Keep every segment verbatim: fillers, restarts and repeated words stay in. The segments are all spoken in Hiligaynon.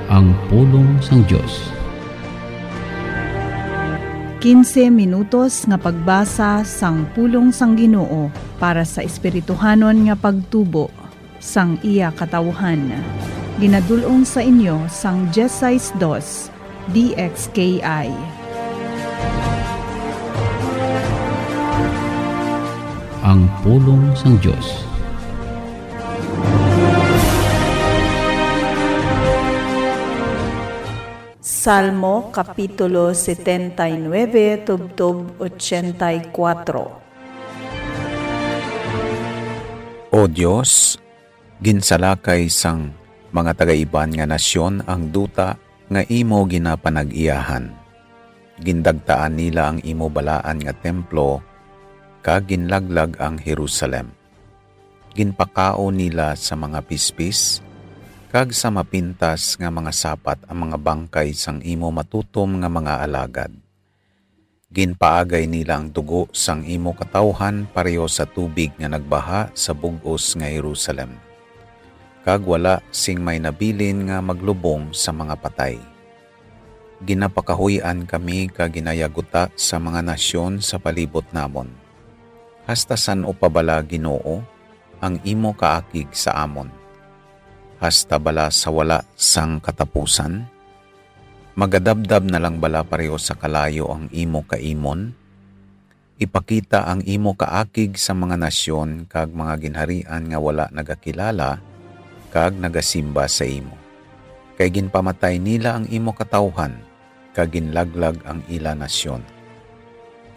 Ang pulong sang Dios. Quince minutos nga pagbasa sang pulong sang Ginoo para sa espirituhanon nga pagtubo sang iya katawhan. Ginadul-ong sa inyo sang dieciséis dos D X K I. Ang pulong sang Dios. Salmo Kapitulo setenta y nueve, tubtob ochenta y cuatro. O Dios, ginsalakay sang mga taga-iban nga nasyon ang duta nga imo ginapanag-iyahan. Gindagtaan nila ang imo balaan nga templo, kag ginlaglag ang Jerusalem. Ginpakaon nila sa mga pispis kag sa mapintas nga mga sapat ang mga bangkay sang imo matutom nga mga alagad. Ginpaagay nila ang dugo sang imo katawhan pareho sa tubig nga nagbaha sa bug-os nga Jerusalem, kag wala sing may nabilin nga maglubong sa mga patay. Ginapakahuy-an kami kag ginayaguta sa mga nasyon sa palibot namon. Hasta san-o pa bala, Ginoo, ang imo kaakig sa amon? Hasta bala sa wala sang katapusan? Magadabdab na lang bala pareho sa kalayo ang imo kaimon? Ipakita ang imo kaakig sa mga nasyon kag mga ginharian nga wala nagakilala kag nagasimba sa imo. Kay ginpamatay nila ang imo katawhan, kag ginlaglag ang ila nasyon.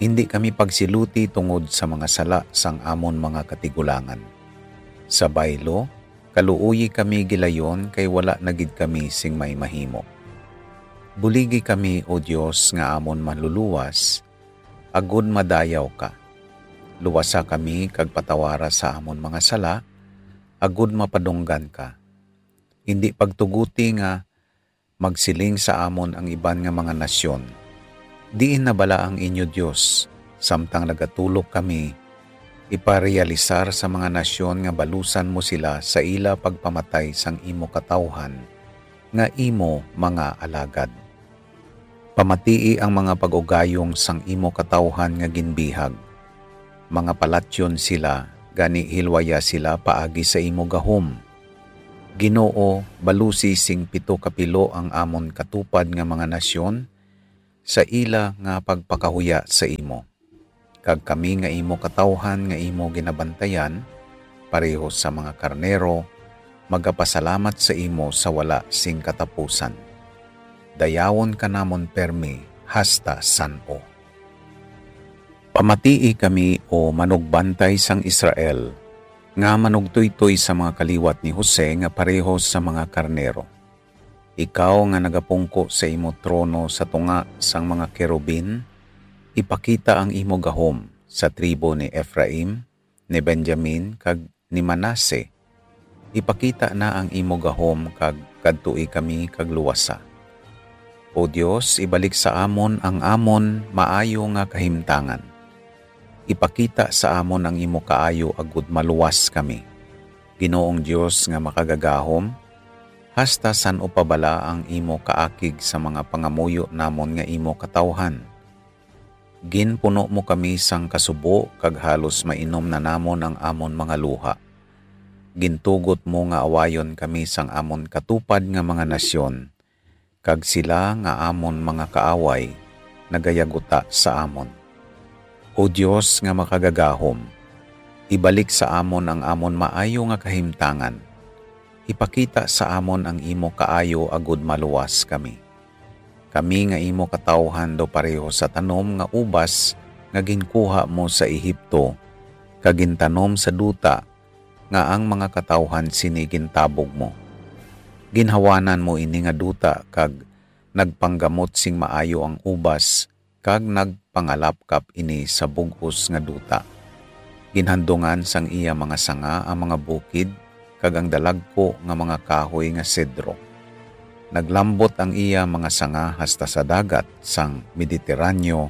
Indi kami pagsiluti tungod sa mga sala sang amon mga katigulangan. Sa baylo, kaluoyi kami gilayon, kay wala na gid kami sing may mahimo. Buligi kami, O Dios nga amon Manluluwas, agod madayaw ka. Luwasa kami kag patawara sa amon mga sala, agod mapadunggan ka. Indi pagtuguti nga magsiling sa amon ang iban nga mga nasyon, "Diin na bala ang inyo Dios?" Samtang nagatulok kami iparealisar sa mga nasyon nga balusan mo sila sa ila pagpamatay sang imo katawhan nga imo mga alagad. Pamatii ang mga pag-ugayong sang imo katawhan nga ginbihag. Mga palatyon sila, gani hilwaya sila paagi sa imo gahom. Ginoo, balusi sing pito ka pilo ang amon katupad nga mga nasyon sa ila nga pagpakahuya sa imo. Kag kami nga imo katawhan nga imo ginabantayan, pareho sa mga karnero, magapasalamat sa imo sa wala sing katapusan. Dayawon ka namon permi hasta san-o. Pamatii kami, O manugbantay sang Israel, nga manugtoytoy sa mga kaliwat ni Jose nga pareho sa mga karnero. Ikaw nga nagapungko sa imo trono sa tunga sang mga kerubin, ipakita ang imo gahom sa tribo ni Efraim, ni Benjamin, kag ni Manase. Ipakita na ang imo gahom kag kadtoi kami kag luwasa. O Dios, ibalik sa amon ang amon maayo nga kahimtangan. Ipakita sa amon ang imo kaayo agud maluwas kami. Ginoong Dios nga makagagahom, hasta san-o pa bala ang imo kaakig sa mga pangamuyo namon nga imo katawhan? Ginpuno mo kami sang kasubo, kag halos mainom na namon ang amon mga luha. Gintugot mo nga awayon kami sang amon katupad nga mga nasyon, kag sila nga amon mga kaaway nagayaguta sa amon. O Dios nga makagagahom, ibalik sa amon ang amon maayo nga kahimtangan. Ipakita sa amon ang imo kaayo agud maluwas kami. Kami nga imo katawuhan daw pareho sa tanom nga ubas nga ginkuha mo sa Egipto, kag gintanom sa duta nga ang mga katawuhan sini gintabog mo. Ginhawanan mo ini nga duta kag nagpanggamot sing maayo ang ubas, kag nagpangalapkap ini sa bug-os nga duta. Ginhandungan sang iya mga sanga ang mga bukid, kag ang dalagku nga mga kahoy nga sedro. Naglambot ang iya mga sanga hasta sa dagat sang Mediterraneo,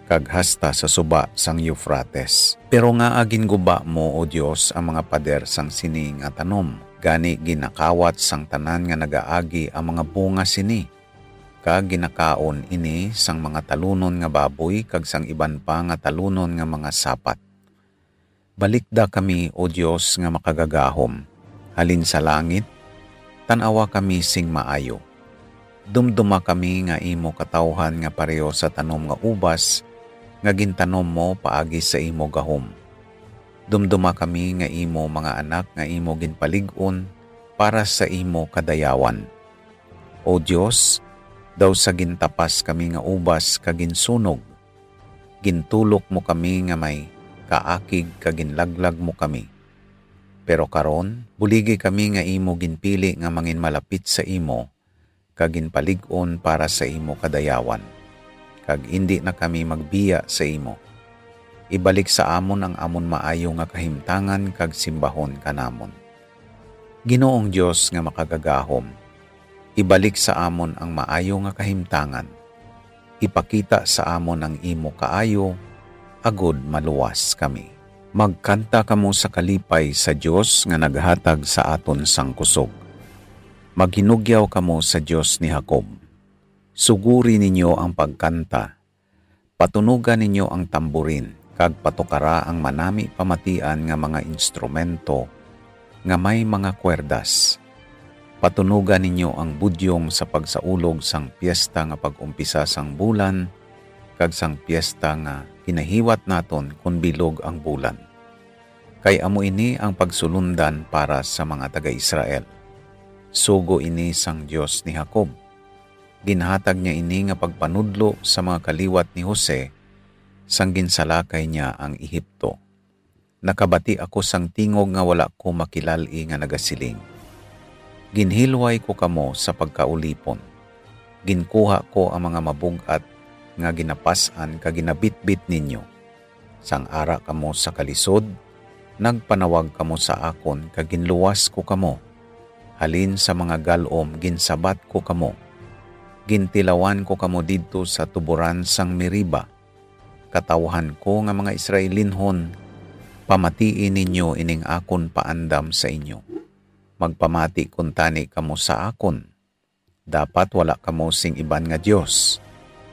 kag hasta sa suba sang Eufrates. Pero ngaa ginguba mo, O Dios, ang mga pader sang sini nga tanom, Gani ginakawat sang tanan nga nagaagi ang mga bunga sini, kag ginakaon ini sang mga talunon nga baboy kag sang iban pa nga talunon nga mga sapat. Balikda kami, O Dios nga makagagahom, halin sa langit, tan-awa kami sing maayo. Dumduma kami nga imo katawhan nga pareho sa tanom nga ubas nga gintanom mo paagi sa imo gahom. Dumduma kami nga imo mga anak nga imo ginpalig-on para sa imo kadayawan. O Dios, daw sa gintapas kami nga ubas kag ginsunog, gintulok mo kami nga may kaakig kag ginlaglag mo kami. Pero karon, buligi kami nga imo ginpili nga manginmalapit sa imo, kag ginpalig-on para sa imo kadayawan, kag indi na kami magbiya sa imo. Ibalik sa amon ang amon maayo nga kahimtangan kag simbahon ka namon. Ginoong Dios nga makagagahom, ibalik sa amon ang maayo nga kahimtangan. Ipakita sa amon ang imo kaayo, agod maluwas kami. Magkanta kamo sa kalipay sa Dios nga naghatag sa aton sang kusog. Maghinugyaw kamo sa Dios ni Jacob. Suguri ninyo ang pagkanta. Patunoga ninyo ang tamborin, kag patukara ang manami pamatian nga mga instrumento nga may mga kwerdas. Patunoga ninyo ang budyong sa pagsaulog sang piyesta nga pag-umpisa sang bulan, kag sang piyesta nga ginahiwat naton kon bilog ang bulan. Kay amo ini ang pagsulondan para sa mga taga-Israel. Sugo ini sang Dios ni Jacob. Ginhatag niya ini nga pagpanudlo sa mga kaliwat ni Jose, sang ginsalakay niya ang Ehipto. Nakabati ako sang tingog nga wala ko makilal-i nga nagasiling, "Ginhilway ko kamo sa pagkaulipon. Ginkuha ko ang mga mabug-at nga ginapas-an kag ginabitbit ninyo." Sang ara kamo sa kalisod, nagpanawag kamo sa akon kag ginluwas ko kamo. Halin sa mga gal-om ginsabat ko kamo. Gintilawan ko kamo didto sa tuboran sang Meriba. Katawhan ko nga mga Israelinhon, pamatii ninyo ining akon paandam sa inyo. Magpamati kuntani kamo sa akon. Dapat wala kamo sing iban nga dios.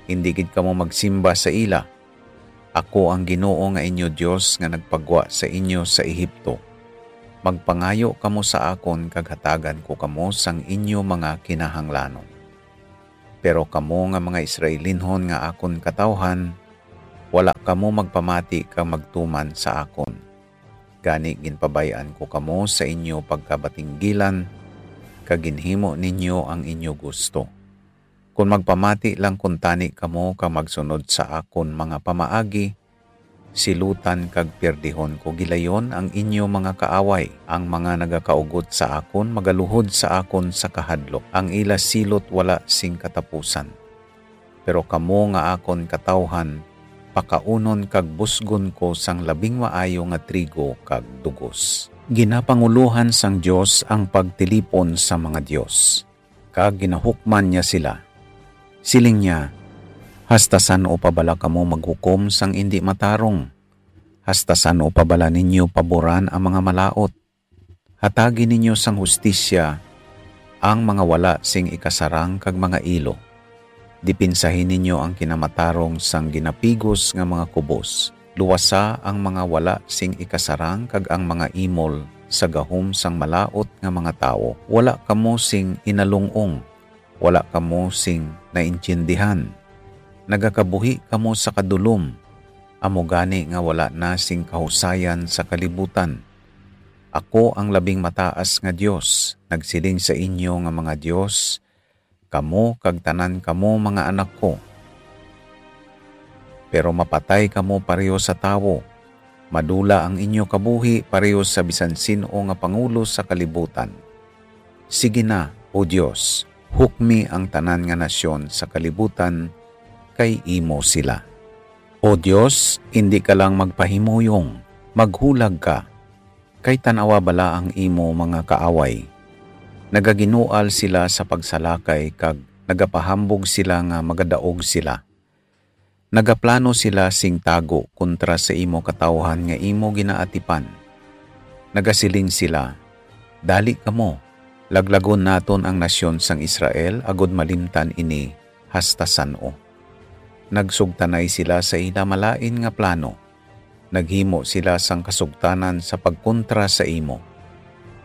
Indi gid kamo magsimba sa ila. Ako ang Ginoo nga inyo Dios nga nagpagwa sa inyo sa Egipto. Magpangayo kamo sa akon kag hatagan ko kamo sang inyo mga kinahanglanon. Pero kamo nga mga Israelinhon nga akon katawhan, wala kamo magpamati kag magtuman sa akon. Gani ginpabay-an ko kamo sa inyo pagkabatinggilan, kag ginhimo ninyo ang inyo gusto. Kon magpamati lang kuntani kamo kag magsunod sa akon mga pamaagi, silutan kag pierdihon ko gilayon ang inyo mga kaaway. Ang mga nagakaugot sa akon magaluhod sa akon sa kahadlok, ang ila silot wala sing katapusan. Pero kamo nga akon katawhan, pakaunon kag busgon ko sang labing maayo nga trigo kag dugos. Ginapangulohan sang Dios ang pagtilipon sa mga dios, kag ginahukman niya sila. Siling niya, "Hasta san-o pa bala kamo maghukom sang indi matarong? Hasta san-o pa bala ninyo paboran ang mga malaut? Hatagi ninyo sang hustisya ang mga wala sing ikasarang kag mga ilo. Dipinsahi ninyo ang kinamatarong sang ginapigos nga mga kubos. Luwasa ang mga wala sing ikasarang kag ang mga imol sa gahom sang malaut nga mga tawo. Wala kamo sing inalung-ong, wala kamo sing naintiendihan. Nagakabuhi kamo sa kadulom, amo gani nga wala na sing kahusayan sa kalibutan. Ako ang Labing Mataas nga Dios nagsiling sa inyo nga mga dios, kamo kag tanan kamo mga anak ko. Pero mapatay kamo pareho sa tawo, madula ang inyo kabuhi pareho sa bisan sin-o nga pangulo sa kalibutan. Sige na, O Dios, hukmi ang tanan nga nasyon sa kalibutan, kay imo sila. O Dios, indi ka lang magpahimuyong, maghulag ka. Kay tan-awa bala ang imo mga kaaway. Nagaginual sila sa pagsalakay kag nagapahambog sila nga magadaog sila. Nagaplano sila sing tago kontra sa imo katawhan nga imo ginaatipan. Nagasiling sila, "Dali kamo, laglagon naton ang nasyon sang Israel agod malimtan ini hasta san-o." Nagsugtanay sila sa ila malain nga plano. Naghimo sila sang kasugtanan sa pagkontra sa imo.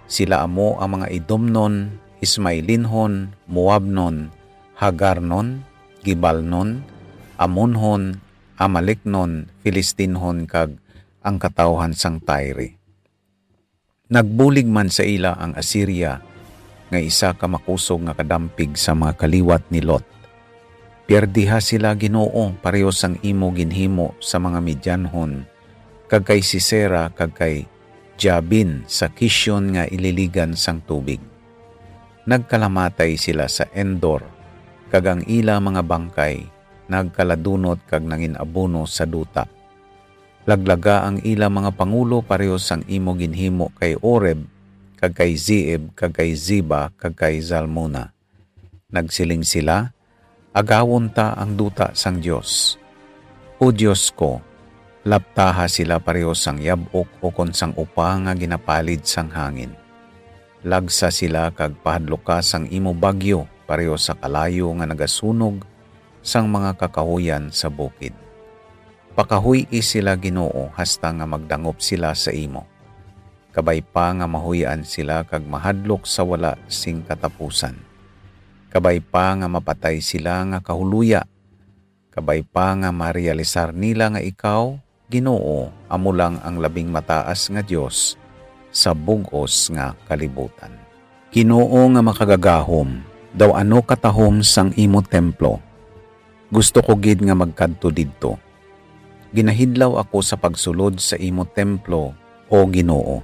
Sila amo ang mga Edomnon, Ismailinhon, Moabnon, Hagarnon, Gibalnon, Amonhon, Amalecnon, Filistinhon, kag ang katawuhan sang Tyre. Nagbulig man sa ila ang Asiria, nga isa ka makusog nga kadampig sa mga kaliwat ni Lot. Piardiha sila, Ginoo, pareho sang imo ginhimo sa mga Midianhon, kag kay Sisera, kag kay Jabin sa Kishon nga ililigan sang tubig. Nagkalamatay sila sa Endor, kag ang ila mga bangkay nagkaladunot kag nangin-abono sa duta. Laglaga ang ila mga pangulo pareho sang imo ginhimo kay Oreb, kag kay Zeeb, kag kay Zeba, kag kay Zalmuna. Nagsiling sila, "Agawon ta ang duta sang Dios." O Dios ko, laptaha sila pareho sang yab-ok ukon sang upa nga ginapalid sang hangin. Lagsa sila kag pahadloka sang imo bagyo pareho sa kalayo nga nagasunog sang mga kakahuyan sa bukid. Pakahuy-i sila, Ginoo, hasta nga magdangop sila sa imo. Kabay pa nga mahuy-an sila kag mahadlok sa wala sing katapusan. Kabay pa nga mapatay sila nga kahuloya. Kabay pa nga marealisar nila nga ikaw, Ginoo, amo lang ang labing mataas nga Dios sa bug-os nga kalibutan. Ginoo nga makagagahom, daw ano katahom sang imo templo. Gusto ko gid nga magkadto didto. Ginahidlaw ako sa pagsulod sa imo templo, O Ginoo.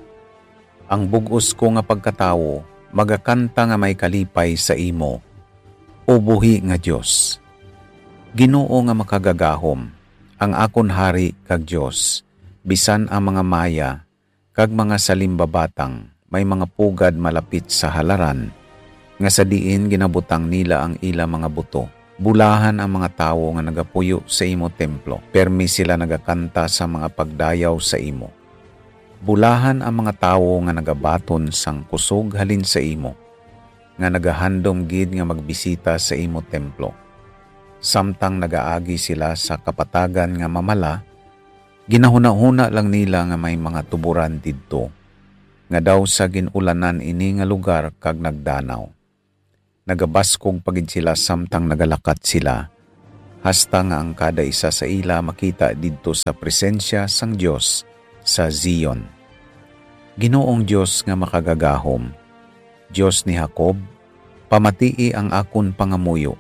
Ang bug-os ko nga pagkatawo magakanta nga may kalipay sa imo, O buhi nga Dios. Ginoo nga makagagahom, ang akon Hari kag Dios, bisan ang mga maya kag mga salimbabatang may mga pugad malapit sa halaran, nga sa diin ginabutang nila ang ila mga buto. Bulahan ang mga tawo nga nagapuyo sa imo templo, permi sila nagakanta sa mga pagdayaw sa imo. Bulahan ang mga tawo nga nagabaton sang kusog halin sa imo, nga nagahandom gid nga magbisita sa imo templo. Samtang nagaagi sila sa kapatagan nga mamala, ginahunahuna lang nila nga may mga tuboran didto, nga daw sa gin-ulanan ini nga lugar kag nagdanaw. Nagabaskog pa gid sila samtang nagalakat sila, hasta nga ang kada isa sa ila makita didto sa presensya sang Dios sa Zion. Ginoong Dios nga makagagahom, Dios ni Jacob, pamatii ang akon pangamuyo.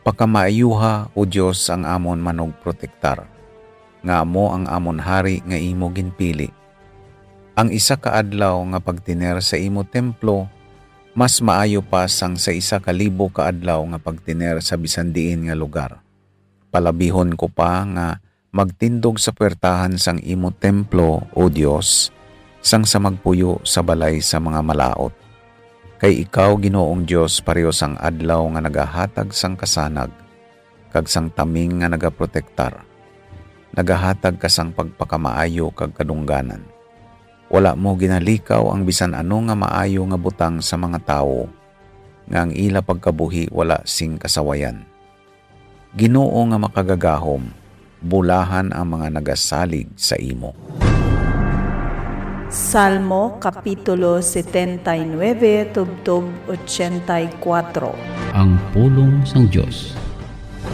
Pakamaayuha, O Dios, ang amon manugprotektar, nga amo ang amon hari nga imo ginpili. Ang isa ka adlaw nga pagtener sa imo templo mas maayo pa sang sa isa ka libo ka adlaw nga pagtener sa bisan diin nga lugar. Palabihon ko pa nga magtindog sa puwertahan sang imo templo, O Dios, sang sa magpuyo sa balay sa mga malaut. Kay ikaw, Ginoong Dios, pareho sang adlaw nga nagahatag sang kasanag, kag sang taming nga nagaprotektar. Nagahatag ka sang pagpakamaayo kag kadungganan. Wala mo ginalikaw ang bisan ano nga maayo nga butang sa mga tawo, nga ang ila pagkabuhi wala sing kasawayan. Ginoo nga makagagahom, bulahan ang mga nagasalig sa imo. Salmo Kapitulo setenta y nueve, tubtob ochenta y kuatro. Ang pulong sang Dios.